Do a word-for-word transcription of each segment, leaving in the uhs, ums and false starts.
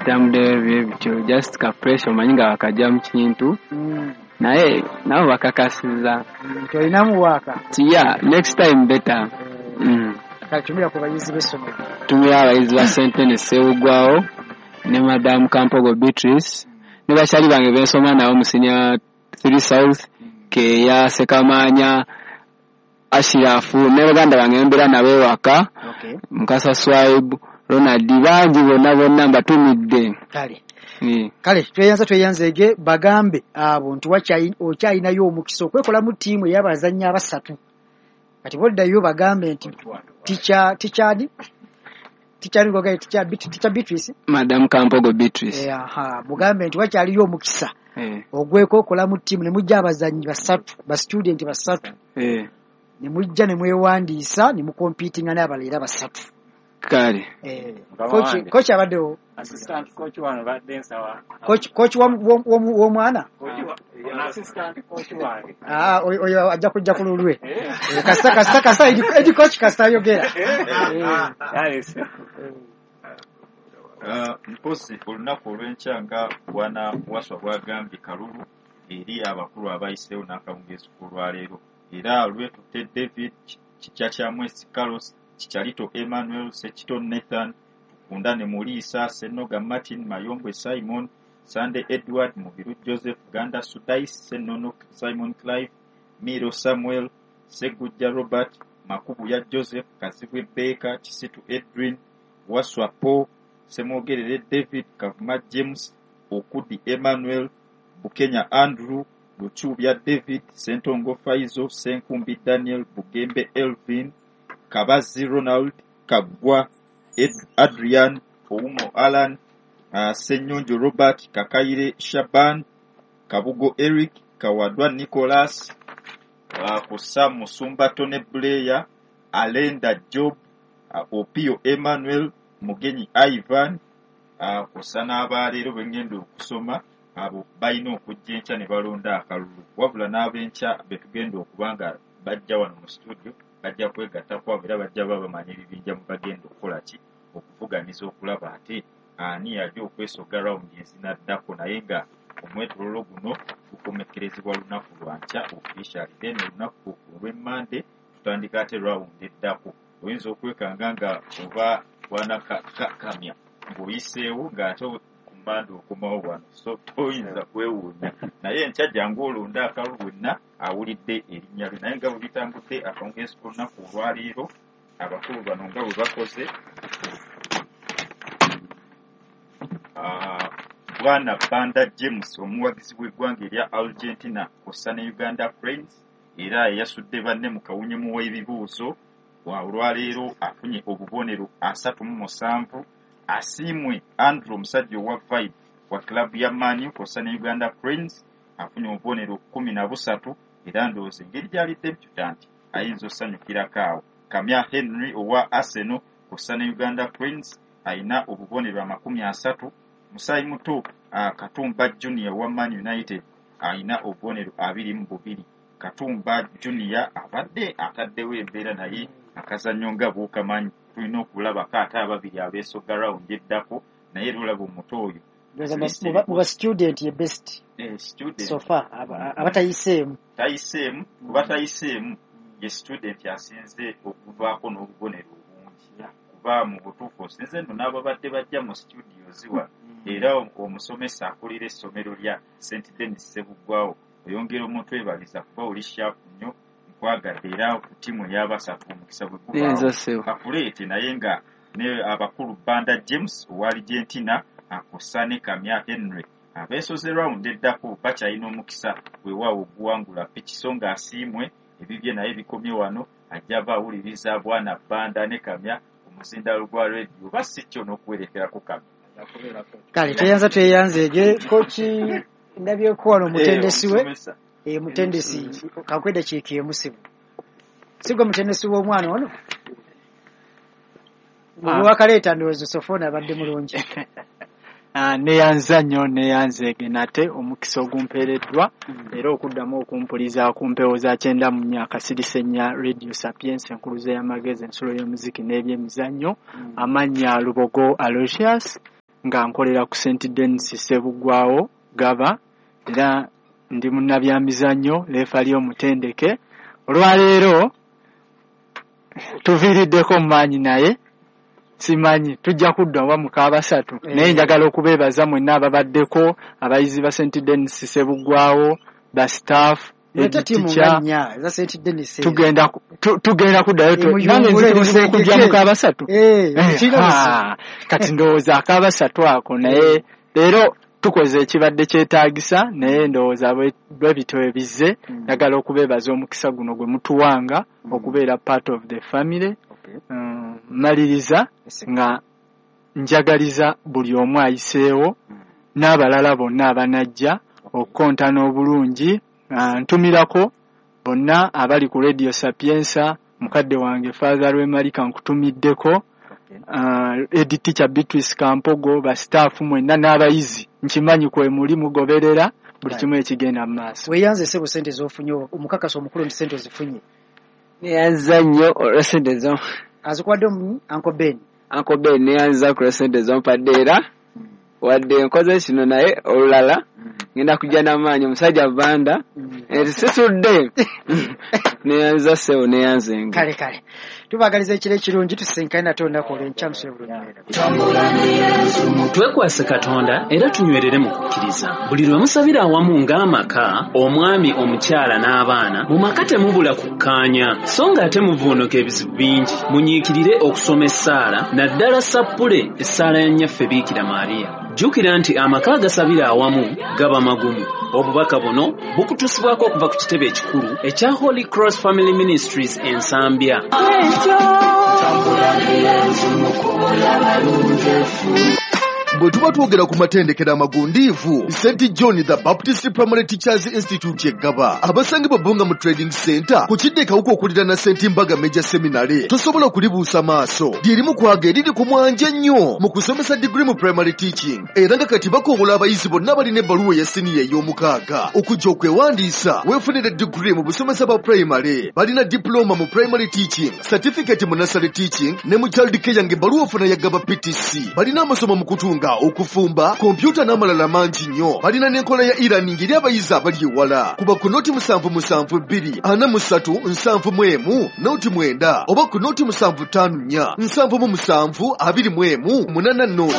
Bitambuddeyo bye bityo, just ka pressure, omanyi nga wakajja mu kintu, Mm. naye nabo bakakasiza Nti olinamu waaka. Ti yeah, next time better. Mm. Kale, tumira ku bayizi b'essomero. Tumira abayizi ba Sentene Sewugwawo ne Madamu Kampogo Beatrice ne bakyali bange bensoma nabo mu senior three South, Keya Sekamanya Ashirafu, ne baganda bange mbeera nabo ewaka, Okay. Mukasa Swaib, Ronald, bangi bonna bonna mbatumidde. Kale. Eh. Kale, tweyanza, tweyanzeege. Bagambe abo nti wakyayi- okyalinayo omukisa okwekolamu ttiimu ey'abazannyi abasatu. Kati boddayo bagambe nti teacher teacher teacher ngogaye teacher Teacher Beatrice. Madamu Kampogo Beatrice. Eh, aha, mugambe nti wakyaliyo omukisa Eh, ogwekokolamu ttiimu ne mujja abazannyi basatu, ba student basatu, eh, ne mujja ne mwewandiisa ne mukompitinga n'abalala era basatu. Kale. Eh, Mukama coach wange. Coach abaddewo. Assistant coach wano badde nsaba. Coach coach w'omu- w'omu- w'omwana. Coach wa- ono assistant coach wange. Ah, oyo oyo ajja kujja ku lulwe. Eh. Eh, kasita kasita kasita edi edi coach kasita ayogera. Eh. Alice. Uh, mpozi olunaku olw'enkya nga bwana Waswa bwagambye, kalulu eri abakulu abayiseewo n'akawungeezi k'olwaleero, era lwetutte David Kikyakyamwesi, Carlos Kicharito, Emmanuel Sekito, Nathan Tukundane, Muliisa Senoga, Martin Mayombwe, Simon Sunday, Edward Mubiru, Joseph Ganda, Sudais Senono, Simon Clive Miro, Samuel Segujja, Robert Makubuya, Joseph Kazibwe Baker, Kisitu Edwin, Waswa Paul Semwogerere, David Kavuma, James Okudi, Emmanuel Bukenya, Andrew Luchubya, David Sentongo, Faizo Senkumbi, Daniel Bugembe, Elvin Kabazi, Ronald Kaggwa, Ed- Adrian Oumo, Alan uh, Senyonjo, Robert Kakaire, Shaban Kabugo, Eric Kawadwa, Nicholas uh, Kusa Musumba, Tony Blair Alenda, Job uh, Opio, Emmanuel Mugenyi, Ivan uh, kusa n'abaleero bwe ngenda okusoma, abo balina okujja enkya ne balonda akalulu. Wabula n'ab'enkya be tugenda okuba nga bajja wano mu studio bajja kwegatta kwabo, era bajja baba bamanya ebibinja mu bagenda okukola ki, okuvuganiza okulaba ate ani yali okwesoga rawundi ezinaddako. Naye nga omwetololo guno gukomekkerezebwa lunaku lwankya officially, then olunaku olw'emmande tutandika ate rawundi eddako. Oyinza okwekanga nga oba bwana Kamya ng'oyiseewo ng'ate ku mmande okomawo wano, so toyinza kwewuunya. Naye enkya jangu olonde akalulu wenna awulidde erinnya lye. Naye nga bwe bitambudde akawungeezi k'olunaku olwaleero, abakulu bano nga bwe bakoze, Ah, bwana Banda James, omuwagizi w'eggwanga erya Argentina kw'ossa ne Uganda Cranes, era eyasudde banne mu kawunyemu w'ebibuuzo wa olwaleero, afunye obubonero asatu mu musanvu. Asiimwe Andrew, omusajja owa Vibe wa club ya Man U kw'ossa ne Uganda Cranes, afunye obubonero kumi na busatu, era ndowooza engeri gyali debutant ayinza osanyukirako awo. Kamya Henry owa Arsenal kw'ossa ne Uganda Cranes ayina obubonero amakumi asatu. Musaayi muto uh, Katumba Junior wa Man United ayina obubonero abiri mu bubiri. Katumba Junior abadde ataddewo embeera, naye akazannyo nga bw'okamanyi tulina okulabako ate ababiri abeesoga rawundi eddako. Naye era olaba omuto oyo Ndowooza mu ba- mu ba student ye best eh, student so far aba- abatayiseemu. Tayiseemu, kuba tayiseemu ye student asinze okuvaako n'obubonero obungi, kuba mu butuufu osinze nno n'ababadde bajja mu studios wano. Era omusomesa akulira essomero lya Saint Denis Sebuggwawo, oyongera omuntu ebaliza kuba oli sharp nnyo, nkwagadde. Era ku ttiimu ey'abasatu omukisa bwe gubaawo Neyinza, ssebo. kakuleete. Naye nga ne abakulu Banda James owa Argentina akossa ne Kamya Henry abeesoze rawundi eddako bakyalina omukisa weewaawo oguwangula piki. So nga asiimwe ebibye naye bikomye wano, ajja aba awuliriza bwana Banda ne Kamya ku muzindalo gwa rediyo, oba si kyo n'okuwerekerako Kamya. Kale, tweyanza, tweyanzeege. Coach, ndabyeko wano omutendesi we. Omusomesa. Eh, mutendesi, kakwedda kiiki emusibu sigwe mutendesi w'omwana ono Ah. wakaleeta. Ndowooza Sofoona abadde mulungi. Ah, neyanza nnyo, neyanzeege nate omukisa ogumpeereddwa era okuddamu okumpuliza ku mpewo za kyenda mu nnya akasirise ennya, Radio Sapiens, enkuluze y'amagezi, ensulo y'omuziki n'ebyemizannyo. Amannya Lubogo Aloysius. nga nkolera ku Saint Denis Ssebuggwawo Gaba, era ndi munnabyamizannyo, referee omutendeke. Olwaleero tuviiriddeko mu maanyi, naye simanyi tujja kudda oba mu kabasatu, naye njagala okubeebaza mwenna ababaddeko, abayizi ba Saint Denis Ssebuggwawo, ba staff, tugenda tugenda kuddayo nange nzikirizibwa okujja mu kabasatu. Kati ndowooza akabasatu ako, naye leero tukoze ekibadde kyetaagisa, naye ndowooza bwe bityo ebizze. Njagala okubeebaza omukisa guno gwe mutuwanga okubeera part of the family. Maliriza nga njagaliza buli omu ayiseewo n'abalala bonna abanajja okukontana obulungi. Ntumirako bonna abali ku Radio Sapienza, mukadde wange Father Lwemalika nkutumiddeko, Ed Teacher Beatrice Kampogo, ba staff mwenna n'abayizi, nkimanyi kwe muli mugoberera buli kimu ekigenda mu maaso. Weeyanze ssebo ssente z'ofunye, omukakasa omukulu nti ssente ozifunye. Neyanza nnyo olwa ssente zo azikuwadde Uncle Ben. Uncle Ben neyanza ku lwa ssente z'ompadde, era wadde nkoze kino naye olulala ngenda kujja n'amaanyi. Omusajja Banda sisudde. Neyanza ssebo, neyanzenga. Kale kale, tubaagaliza ekiro ekirungi, tusisinkane nate olunaku olw'enkya musule bulungi. Twekwase Katonda era tunywerere mu kukkiriza. Buli lwe musabira awamu ng'amaka, omwami, omukyala n'abaana, mu maka temubula kukkaanya, so ng'ate muvuunuka ebizibu bingi. Munyiikirire okusoma essaala, naddala sappule essaala ya Nnyaffe Biikira Maria. Jjukira nti amaka agasabira awamu gaba magumu. Obubaka buno bukutusibwako okuva ku kitebe ekikulu ekya Holy Cross Family Ministries e Nsambya. Bwe tuba twogera ku matendekero amagundiivu, Saint John the Baptist Primary Teachers Institute e Gaba, abasangibwa Bbunga mu Trading Center ku kidde Kawuka okuliraana Saint Mbaga Major Seminary, tosobola kulibuusa maaso. Lyerimu kwaga eriri ku mwanja ennyo mu kusomesa degree mu primary teaching, era nga kati bakowola abayizi bonna balina ebbaluwa eya siniya ey'omukaaga okujja okwewandiisa weefunire degree mu busomesa bwa primary. Balina diploma mu primary teaching, certificate mu nursery teaching ne mu child care ng'ebbaluwa ofuna ya Gaba P T C. Balina amasomo mu kutunga, okufumba, kompyuta n'amalala mangi nnyo. Balina n'enkola ya e-learning eri abayizi abali ewala. Kuba ku noti musanvu musanvu bbiri ana mu ssatu nsanvu mu emu noti mwenda, oba ku noti musanvu ttaano nnya nsanvu mu musanvu abiri mu emu munana noti.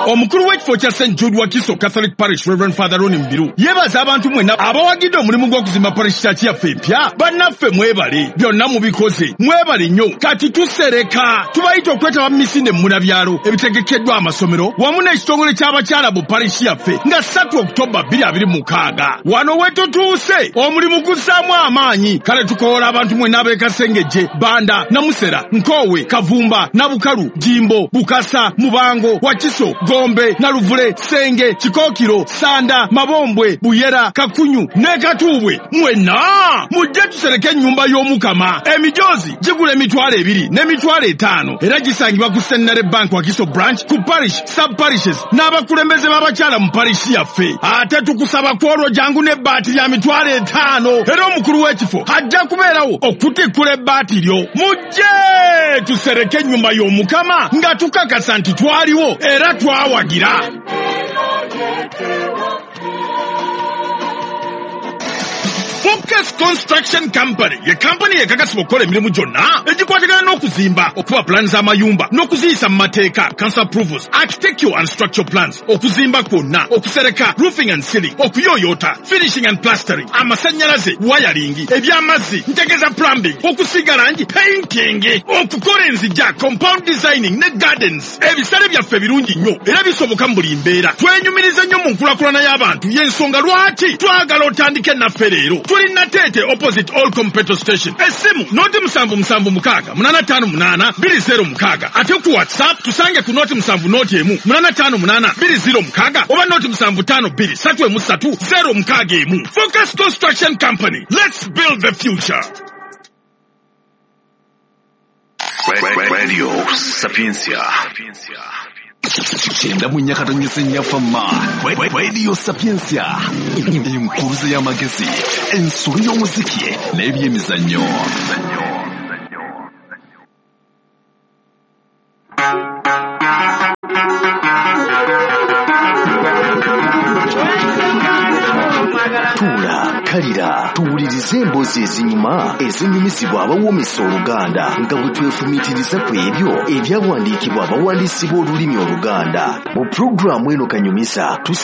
Omukulu w'ekifo kya Saint Jude Wakiso Catholic Parish, Reverend Father Ronnie Mbiru, yeebaza abantu mwenna abawagidde omulimu gw'okuzimba parish church yaffe empya. Bannaffe mwebale, byonna mubikoze, mwebale nnyo. Kati tusereka, tubayita okwetaba mu misinde munabyalo ebitegekeddwa amasomero wamu n'ekitongole ky'abakyala mu parish yaffe nga ssatu Oktoba bbiri abiri mukaaga. Wano we tutuuse omulimu guzzaamu amaanyi. Kale tukoola abantu mwenna ab'e Kasengejje, Banda, Namusera, Nkoowe, Kavumba, Nabukalu, Jimbo, Bukasa, Mubango, Wakiso, Gombe, Naluvule, Senge, Kikookiro, Sanda, Mabombwe, Buyera, Kakunyu ne Katuubwe. Mwenna mujje tusereke ennyumba y'Omukama. Emijoozi gigula emitwalo ebiri n'emitwalo etaano, era gisangibwa ku Centenary Bank Wakiso Branch, ku parish, sub parishes n'abakulembeze b'abakyala mu parish yaffe. Ate tukusaba kwolwo jangu n'ebbaati lya mitwalo etaano, era omukulu w'ekifo ajja kubeerawo okutikkula ebbaati lyo. Mujje tusereke ennyumba y'Omukama nga tukakasa nti twaliwo era twawagira. Focus Construction Company ye kampani ekakasibwa okukola emirimu gyonna egikwatagana n'okuzimba, okuba pulaani z'amayumba n'okuziyisa mu mateeka, council approvals, architectural and structural plans, okuzimba kwonna, okusereka, roofing and ceiling, okuyooyoota, finishing and plastering, amasannyalaze, wiring, eby'amazzi, ntegeeza plumbing, okusiiga langi, painting, okukola enzigya, compound designing ne gardens. Ebisale byaffe birungi nnyo era bisoboka mu buli mbeera. Twenyumiriza nnyo mu nkulaakulana y'abantu, y'ensonga lwaki twagala otandike naffe leero. Tuli Natete opposite all petrol station. Esimu noti musanvu musanvu mukaaga munana ttaano munaana bbiri zero mukaaga. Ate ku WhatsApp tusange ku noti musanvu noti emu munana ttaano munaana bbiri zero mukaaga oba noti musanvu ttaano bbiri ssatu emu ssatu zero mukaaga emu. Focus Construction Company. Let's build the future. Radio Sapientia. Kyenda mu nnya nnyafama Radio Sapientia, enkuruze y'amagezi, ensolo y'omuziki n'ebyemizannyo. Kalira tuwulirize emboozi ezinyuma ezinyumizibwa abawoomesa Oluganda nga bwe twefumiitiriza ku ebyo ebyawandiikibwa abawandiisi b'olulimi Oluganda. Mu pulogulaamu eno Kanyumiza tussa